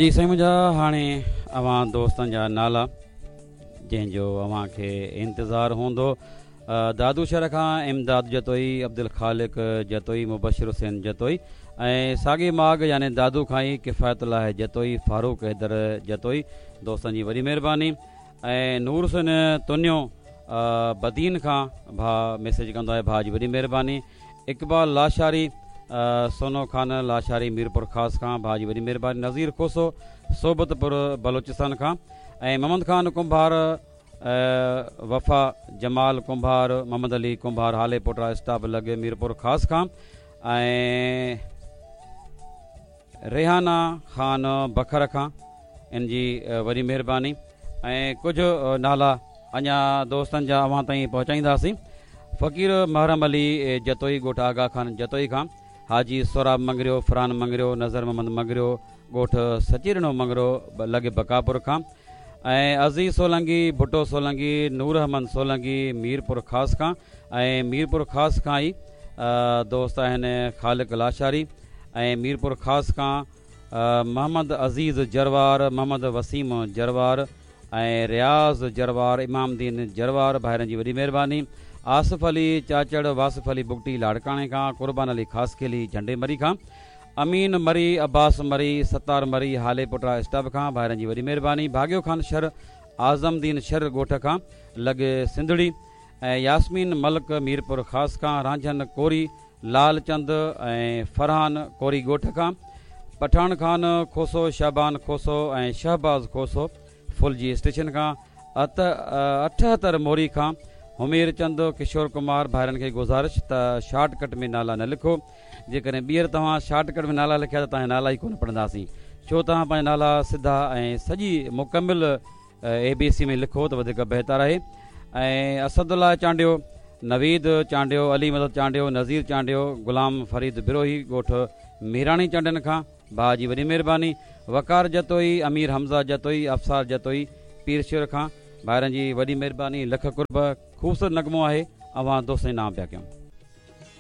جي سائين منهنجا هاڻي اوهان دوستن جا نالا جنهن جو اوهان کي انتظار هوندو دادو شهر کان امداد جتوئي عبدالخالق جتوئي مبشر حسين جتوئي ۽ ساڳي ماڳ يعني دادو کان ئي ڪفايت الله جتوئي فاروق حيدر جتوئي دوستن جي وڏي مهرباني ۽ نور حسين تنيو بدين کان ڀاء ميسيج ڪندو آهي ڀاء جي وڏي مهرباني اقبال لاشاري سونو خان لاشاري ميرپور خاص کان ڀاء جي وڏي مهرباني نظير کوسو صحبت پور بلوچستان کان ۽ محمد خان ڪنڀار وفا جمال ڪنڀار محمد علي ڪنڀار هالي پوٽا اسٽاپ لڳ ميرپور خاص کان ۽ ريحانه خان بکر کان ان جي وڏي مهرباني ۽ ڪجهه نالا اڃا دوستن جا اوهان تائين پهچائينداسين فقير محرم علي جتوئي ڳوٺ آغا خان جتوئي کان حاجي سهراب مڱريو فرحان مڱريو نظر محمد مڱريو ڳوٺ سچيڏنو مڱريو لڳ بقاپور کان ۽ عزيز سولنگي ڀٽو سولنگي نور احمد سولنگي ميرپور خاص کان ۽ ميرپور خاص کان ئي دوست آهن خالق لاشاري ۽ ميرپور خاص کان محمد عزيز جروار، محمد وسيم جروار ۽ رياض جروار، امام دين جروار ڀائرن جي وڏي مهرباني، آصف علي چاچڙ، واصف علي بگٽي لاڙڪاڻي کان، قربان علي خاصخيلي جهنڊي مري کان، امين مري، عباس مري، ستار مري هالي پوٽا اسٽاپ کان ڀائرن جي وڏي مهرباني، ڀاڳيو خان شر، اعظم دين شر ڳوٺ کان لڳ سنڌڙي ۽ ياسمين ملڪ ميرپور خاص کان، رانجهن ڪوري، لال چند ۽ فرحان ڪوري ڳوٺ کان، پٺاڻ خان کوسو، شعبان کوسو ۽ شهباز کوسو ڦلجي اسٽيشن کان، 78 موري کان، همير چند، ڪشور ڪمار ڀائرن کي گذارش ته شارٽ ڪٽ ۾ نالا نه لکو، جيڪڏهن ٻيهر توهان شارٽ ڪٽ ۾ نالا لکيا ته توهان جا نالا ئي ڪونه پڙهنداسين، ڇو توهان پنهنجا نالا سڌا ۽ سڄي مڪمل اي بي سي ۾ لکو ته وڌيڪ بهتر آهي ۽ اسد الله چانڊيو، نويد چانڊيو، علي مدد چانڊيو، نذير چانڊيو، غلام فريد بروهي ڳوٺ ميراڻي چانڊين کان ڀاء جي وڏي مهرباني، وقار جتوئي، امير حمزه جتوئي، ابصار جتوئي پير شير کان ڀائرن جي وڏي مهرباني لک قرب خوبصورت نغمو آهي اوهان دوستن جي نانء پيا ڪيون.